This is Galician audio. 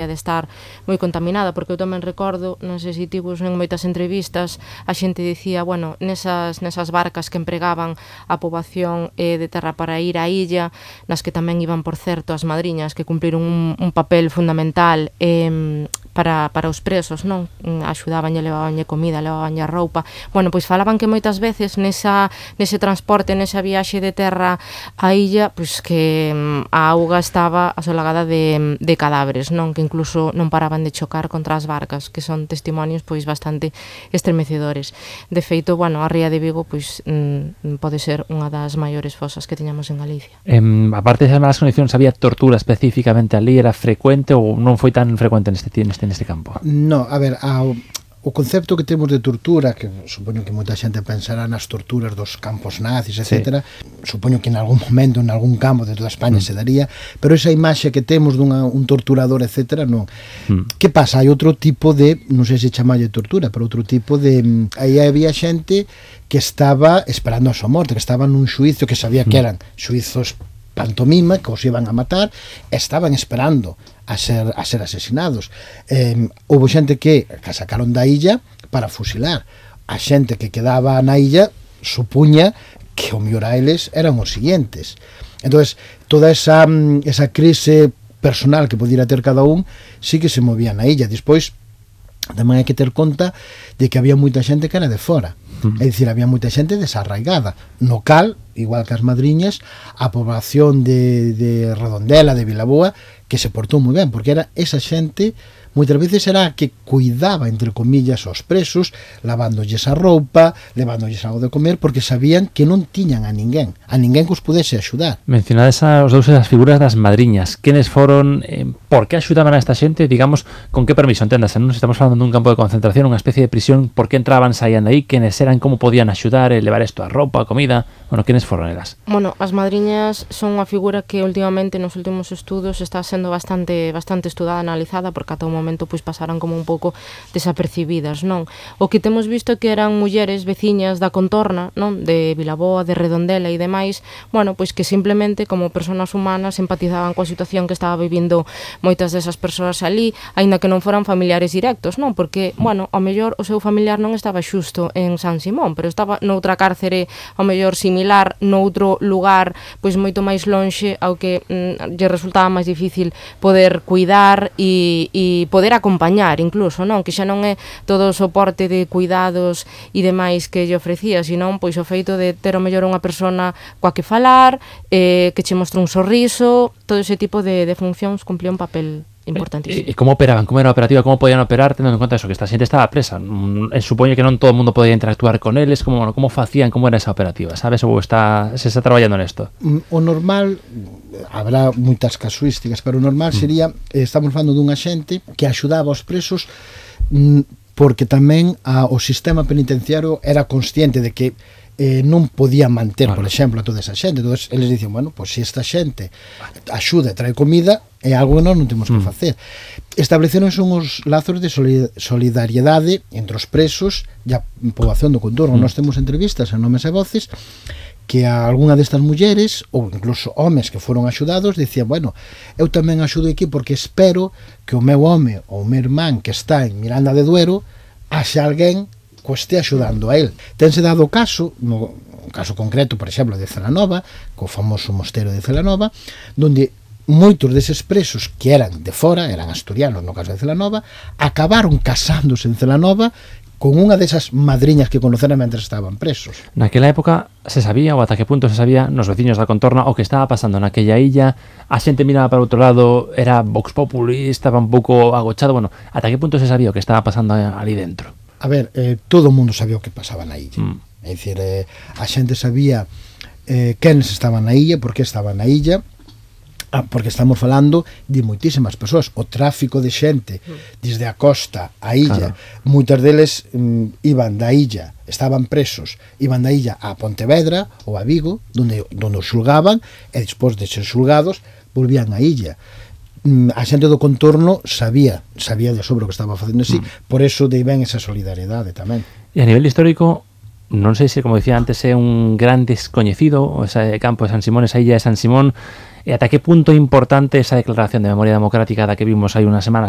de estar moi contaminada, porque eu tamén recordo, non sei se tivos en moitas entrevistas, a xente dicía, bueno, nesas barcas que empregaban a poboación de terra para ir á illa, nas que tamén iban, por certo, as madriñas, que cumpliron un papel fundamental para os presos, non? Axudabanlle, levabanlle comida, levabanlle roupa. Bueno, pois falaban que moitas veces nese transporte, nesa viaxe de terra á illa, pois que a auga estaba asolagada de cadáveres, non? Que incluso non paraban de chocar contra as barcas, que son testimonios pois bastante estremecedores. De feito, bueno, a ría de Vigo pois pode ser unha das maiores fosas que teñamos en Galicia. Aparte das malas condicións, había tortura específicamente ali? Era frecuente ou non foi tan frecuente neste campo? No, a ver, o concepto que temos de tortura, que supoño que moita xente pensará nas torturas dos campos nazis, etc. Supoño que en algún momento, en algún campo de toda España se daría, pero esa imaxe que temos dun torturador, etc., non. Que pasa? Hai outro tipo de, non sei se chamalle tortura, pero outro tipo de... Aí había xente que estaba esperando a súa morte, que estaba nun xuizo, que sabía que eran xuizos pantomima, que os iban a matar, estaban esperando a ser asesinados. Houve xente que sacaron da illa para fusilar. A xente que quedaba na illa supuña que o mellor a eles eran os siguientes. Entonces, toda esa crise personal que podía ter cada un sí que se movía na illa. Despois, tamén hai que ter conta de que había moita xente que era de fora. É dicir, había moita xente desarraigada, no cal, igual que as madriñas, a poboación de Redondela, de Vilaboa, que se portou moi ben, porque era esa xente, moitas veces era a que cuidaba, entre comillas, aos presos, lavándolles a roupa, levándolles algo de comer, porque sabían que non tiñan a ninguén que os pudese axudar. Mencionades os dous as figuras das madriñas. Quenes foron, por que axudaban a esta xente, digamos, con que permiso, enténdase, non estamos falando dun campo de concentración, unha especie de prisión, por que entraban, saían de aí, quenes eran, como podían axudar, levar isto a roupa, a comida, bueno, quenes foron elas? Bueno, as madriñas son unha figura que últimamente nos últimos estudos está sendo bastante estudada, analizada, porque ata o momento pois pasaran como un pouco desapercibidas, non? O que temos visto é que eran mulleres veciñas da contorna, non? De Vilaboa, de Redondela e demais, bueno, pois que simplemente como persoas humanas empatizaban coa situación que estaba vivindo moitas desas persoas ali, aínda que non foran familiares directos, non? Porque, bueno, ao mellor o seu familiar non estaba xusto en San Simón, pero estaba noutra cárcere ao mellor similar, noutro lugar pois moito máis lonxe, ao que lle resultaba máis difícil poder cuidar e poder acompañar incluso, non? Que xa non é todo o soporte de cuidados e demais que lle ofrecía, senón pois o feito de ter o mellor unha persona coa que falar, que che mostra un sorriso, todo ese tipo de funcións cumplía un papel importantísimo. E como operaban? Como era a operativa? Como podían operar tendo en conta eso, que esta xente estaba presa? Supoño que non todo o mundo podía interactuar con eles. Como facían? Como era esa operativa? Sabes? Ou se está traballando nesto? O normal, habrá moitas casuísticas, pero o normal sería, estamos falando dunha xente que axudaba aos presos, porque tamén o sistema penitenciario era consciente de que non podía manter, por exemplo, a toda esa xente. Entón, eles dicen, bueno, pois se esta xente axuda e trae comida, é algo que nós non temos que facer. Estableceronse uns lazos de solidariedade entre os presos e a poboación do contorno. Nós temos entrevistas en Nomes e Voces que a algunha destas mulleres, ou incluso homes que foron axudados, dicían, bueno, eu tamén axudo aquí porque espero que o meu home ou o meu irmán que está en Miranda de Duero haxe alguén que este axudando a él. Tense dado o caso, no caso concreto, por exemplo, de Celanova, co famoso mosteiro de Celanova, donde moitos deses presos que eran de fora, eran asturianos no caso de Celanova, acabaron casándose en Celanova con unha desas madriñas que conoceran mentre estaban presos. Naquela época se sabía, ou ata que punto se sabía, nos veciños da contorna, o que estaba pasando naquella illa? A xente miraba para outro lado, era vox populi, estaba un pouco agochado, bueno, ata que punto se sabía o que estaba pasando ali dentro? A ver, todo o mundo sabía o que pasaba na illa. É dicir, a xente sabía quenes estaban na illa, por que estaban na illa, porque estamos falando de moitísimas persoas. O tráfico de xente desde a costa á illa, moitas deles iban da illa, estaban presos, iban da illa a Pontevedra ou a Vigo, donde os xulgaban, e despois de ser xulgados volvían á illa. A xente do contorno sabía de sobre o que estaba facendo así, por eso de ben esa solidariedade tamén. E a nivel histórico, non sei se, como dicía antes, é un gran descoñecido ese campo de San Simón, esa illa de San Simón. E ata que punto é importante esa declaración de memoria democrática da que vimos hai unhas semanas